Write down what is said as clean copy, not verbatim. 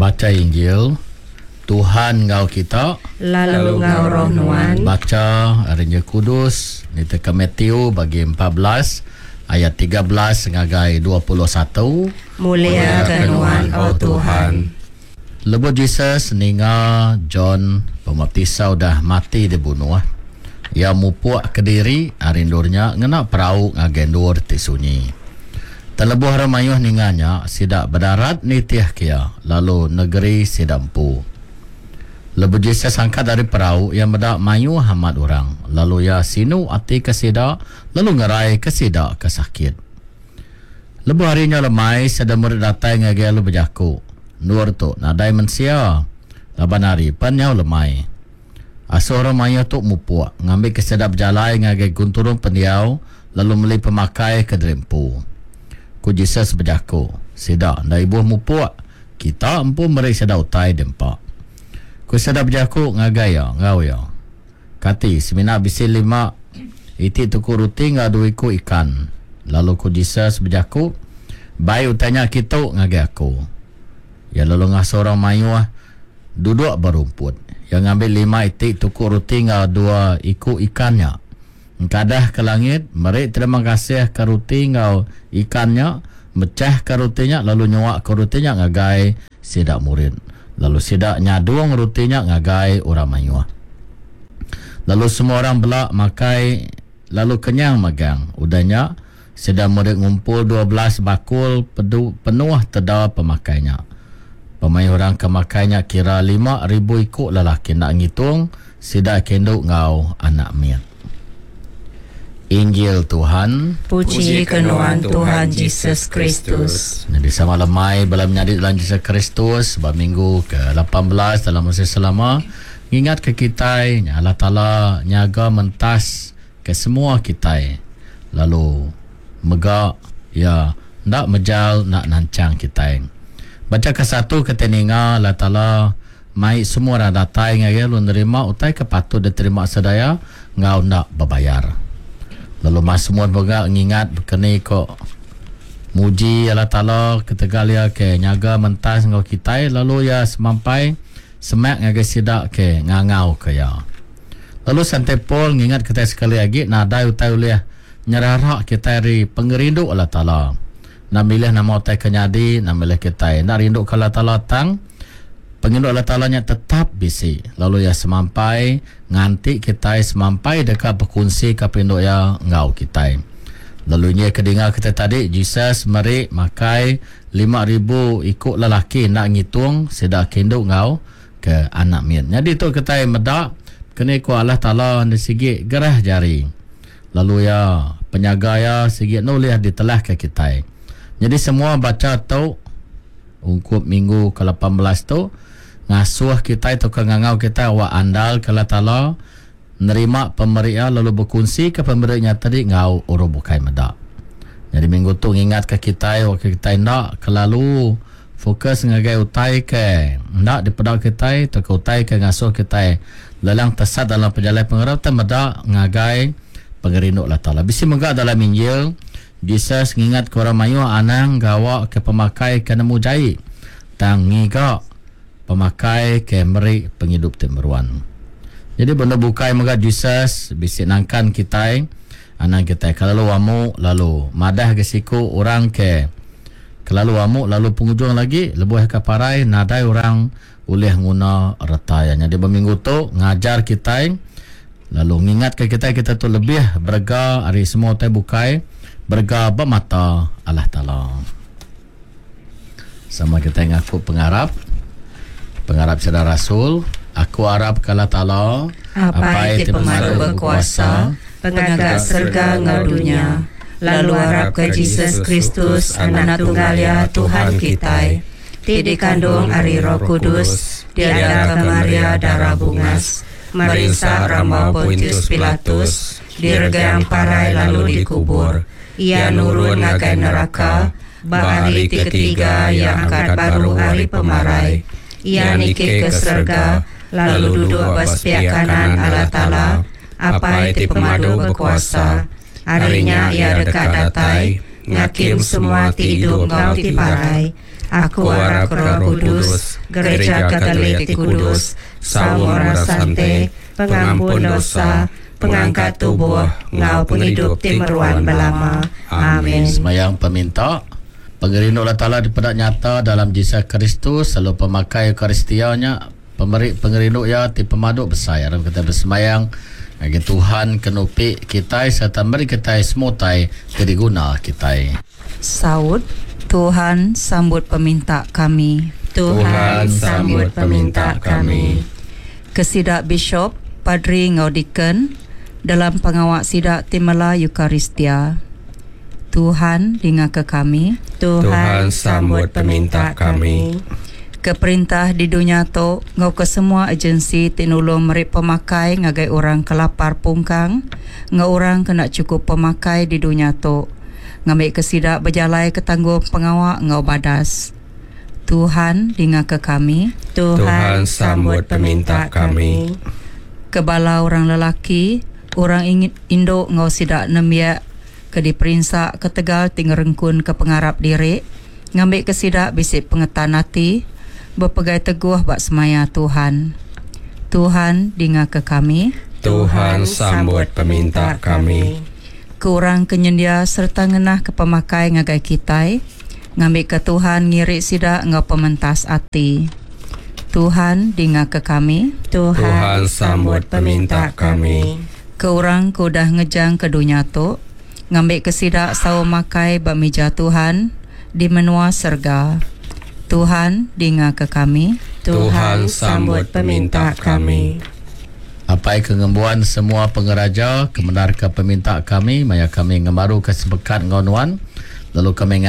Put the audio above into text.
Bacha Injil, Tuhan enggau kita. Lalu enggau roh nuan. Bacha ari Injil Kudus nitihka Matthew bagi 14 ayat 13 ngagai 21. Mulia ke nuan, O Tuhan. Lebuh Jesus ninga John Pemaptisa udah mati dibunuh, iya mupuk kediri ari endur nya ngena perau ngagai endur ti sunyi. Tang lebuh orang mayuh ninga nya, sida bedarat nitihka iya lalu negeri sida empu. Lebuh Jesus angkat ari perau, iya meda mayuh amat orang, lalu iya sinu ati ke sida lalu ngeraika sida ke sakit. Lebuh hari nyau lemai, sida murid datai ngagai lalu bejaku, Endur tu nadai mensia, laban hari pen nyau lemai. Asuh orang mayuh tu mupuk, ngambika sida bejalai ngagai genturung pendiau lalu meli pemakai ke diri empu. Ku Jesus bejaku, Sida enda ibuh mupuk, kita empu meri sida utai diempa. Ku sida bejaku ngagai iya enggau iya, Kati semina bisi lima iti tuku ruti enggau dua iku ikan? Lalu ku Jesus bejaku, Bai utai nya kitu ngagai aku. Iya lalu ngasuh orang mayuh duduk ba rumput. Iya ngambi lima iti tuku ruti enggau dua iku ikan nya, engkadah ke langit, meri terima kasih ke ruti enggau ikan nya, mechahka ruti nya lalu nyuaka ruti nya ngagai sida murid, lalu sida nyadung ruti nya ngagai orang mayuh. Lalu semua orang bela makai lalu kenyang magang. Udah nya, sida murid ngumpul 12 bakul pedu penuh teda pemakai nya. Pemayuh orang ke makai nya kira 5000 iku lelaki enda ngitung sida ke indu enggau anak mit. Injil Tuhan. Puji ke nuan Tuhan Jesus Kristus. Nyadi sama lemai bala menyadi dalam Jesus Kristus ba minggu ke 18 dalam musim selama ngingat ke kitai nya Allah Taala nyaga mentas ke semua kitai lalu mega iya enda mejal enda nanchang kitai. Bacha ke satu kitai ninga Allah Taala Mai semua orang datai ngagai lalu nerima utai ke patut diterima sedaya enggau enda bebayar. Lalu Masmur mega ngingat baka ni ko muji Allah Taala ketegal iya ke nyaga mentas enggau kitai lalu iya semampai semak ngagai sida ke ngangauka iya. Lalu Sante Paul ngingat kitai sekali agi nadai utai ulih nyerara kitai ari pengerindu Allah Taala. Enda milih nama utai ke nyadi, enda milih kitai enda rinduka Allah Taala tang Pengindu Allah Taala nya tetap bisi, lalu Iya semampai nganti kitai semampai deka bekunsika perindu Iya enggau kitai. Lalu injil ke dinga kitai tadi, Jesus meri makai 5000 iku lelaki enda ngitung sida ke indu enggau ke anak mit. Nyadi tu kitai meda keni ku Allah Taala enda sigi gerah jari, lalu Iya penyaga Iya sigi enda ulih ditelahka kitai. Nyadi semua bacha tu. Ungkup minggu ke 18 tu, ngasuh kitai tauka ngangau kitai awak andal ke Allah Taala, nerima pemeri Iya lalu bekunsika pemeri nya tadi enggau orang bukai meda. Nyadi minggu tu ngingatka kitai awakka kitai enda kelalu fokus ngagai utai ke enda dipeda kitai tauka utai ke ngasuh kitai lelang tesat dalam pejalai pengarap tang meda ngagai pengerindu Allah Taala. Bisi mega dalam Injil Jesus ngingatka orang mayuh anang gawa ke pemakai ke nemu jai, tang ngiga pemakai ke meri pengidup ti meruan. Nyadi benda bukai mega Jesus bisi nangkan kitai, anang kitai kelalu amu lalu madah ga siku orang ke kelalu amu lalu pengujung lagi lebuh iya ke parai nadai orang ulih nguna reta iya. Nyadi ba minggu tu ngajar kitai lalu ngingatka kitai kita tu lebih berega ari semua utai bukai, berega ba mata Allah Taala. Sama kitai ngaku pengarap, pengarap sida rasul, aku arap ke Allah Taala, Apai ti pemadu bekuasa, pengaga serega enggau dunya, lalu arap ke Jesus Kristus, Anak Tunggal Iya, Tuhan kitai, ti dikandung ari Roh Kudus, diadaka Maria Dara Bungas, merinsa rambau Pontius Pilatus, diregang parai lalu dikubur. Iya nurun ngagai neraka, ba hari ti ketiga iya angkat baru ari pemarai. Iya niki ke serega, lalu duduk ba sepiak kanan Allah Taala, Apai ti Pemadu Bekuasa. Ari nya iya deka datai ngakim semua ti idup enggau ti parai. Aku arap ke Roh Kudus, Gereja Katolik ti kudus, saum orang sante, pengampun dosa, pengangkat tubuh, enggau pengidup ti meruan belama. Amin. Semayang peminta. Pengerindu Allah Taala dipeda nyata dalam Jesus Kristus lalu pemakai Eukaristia nya pemeri pengerindu iya ti pemadu besai. Aram kitai besemayang ngagai Tuhan ke nupi kitai sereta meri kitai semua utai ti diguna kitai. Saut, Tuhan sambut peminta kami. Tuhan sambut peminta kami. Ke sida bishop, padri enggau deacon dalam pengawa sida ti mela Eucharistia. Tuhan dingaka kami. Tuhan sambut peminta kami. Ke perintah di dunya tu enggau ke semua agensi ti nulung meri pemakai ngagai orang ke lapar pungkang enggau orang ke enda chukup pemakai di dunya tu ngambika sida bejalaika tanggung pengawa enggau badas. Tuhan dingaka kami. Tuhan sambut peminta kami. Ke bala orang lelaki, orang indu enggau sida nembiak ke diperinsa ketegal ti ngerengkunka pengarap diri, ngambika sida bisi pengetan ati bepegai teguh ba semaya Tuhan. Tuhan, dingaka kami. Tuhan, sambut peminta kami. Ke orang ke nyendia sereta ngenahka pemakai ngagai kitai, ngambika Tuhan ngiri sida enggau pementas ati. Tuhan, dingaka kami. Tuhan, sambut peminta kami. Ke orang ke udah ngejangka dunya tu, ngambika sida saum makai ba mija Tuhan di menua serega. Tuhan, dingaka kami. Tuhan, sambut peminta kami. Apai ke ngembuan semua pengeraja, kemendarka peminta kami maya kami ngemaruka sempekat enggau Nuan, lalu kami.